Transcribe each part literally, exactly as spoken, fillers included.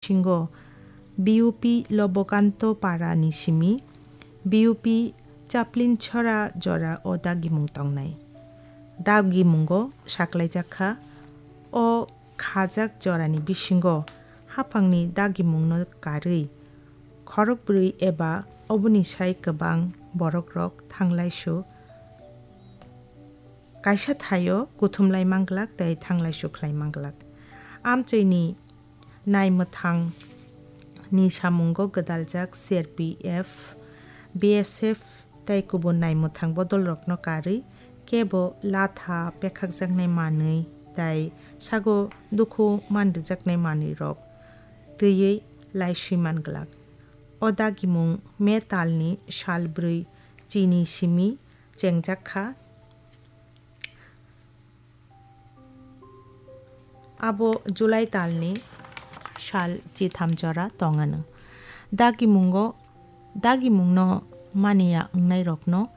bisingo B U P Lobokanto Para ni simi B U P Chaplin Chhora jora o dagimung tongnai. Dagimungo saklaijak kha, o khajak jorani bisingo haphangni dagimungno karwi khorokbrwi eba oboni sai kwbang borokrok thanglaisu kaisa thaio kuthumlai manglak tei thanglaisu khlai manglak. Amchoini naimwthang ni samungo gwdaljak C R P F, B S F tei kubun naimwthang bodolrokno karwi kebo latha pekhakjaknai manwi tei sago dukhu manrwjaknai manwirok twiwi laiswi manglak. O dagimung May talni sal brwi chini simi chengjak kha. Abo July talni sal chitham jora tongano. Dagimungo, dagimungno maniya wngnairokno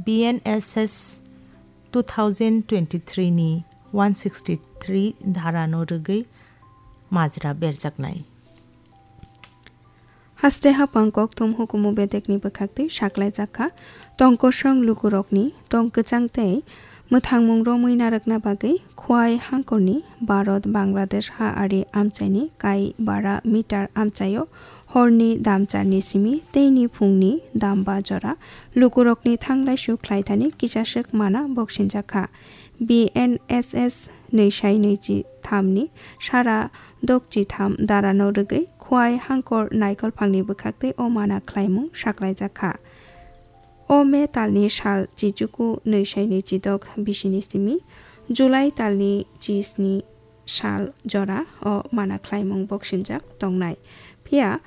B N S S two thousand twenty-three ni one sixty-three dharano rwgwi majra berjaknai. Haste hapang kokthum hukumu bedekni bwkhaktwi saklaijak kha, tongkosong lukurokni tong kwchang tei mwthangmung romwi narwkna bagwi Khwai hangkorni Bharat Bangladesh ha ari amchaini kai bara meter amchaio horni damcharni simi teini phungni damba jora lukurokni thanglaisu khlaithani kisaswk mana boksinjak kha. B N S S nwi sai nwi chi tham ni sara dok chi tham dara no rwgwi Khwai hangkor naikolphang ni bwkhaktwi o mana khlaimung saklaijak kha. O May talni sal chichuku nwi sai nwi chi dok bisini simi July talni chi sni sal jora o mana khlaimung boksinjak tongnai. Phiya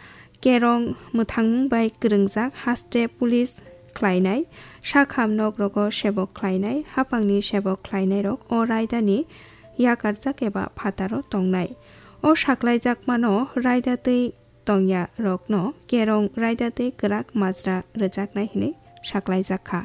kerong mwthangmung bai kwrwngjak haste police khlainai, sakham nok rogo sebok khlainai, hapangni sebok khlainairok o raidani yakarjak eba phataro tongnai. O saklaijakmano raida twi tongya rokno kerong raida twi kwrak majra rwjaknai hwnwi saklaijak kha.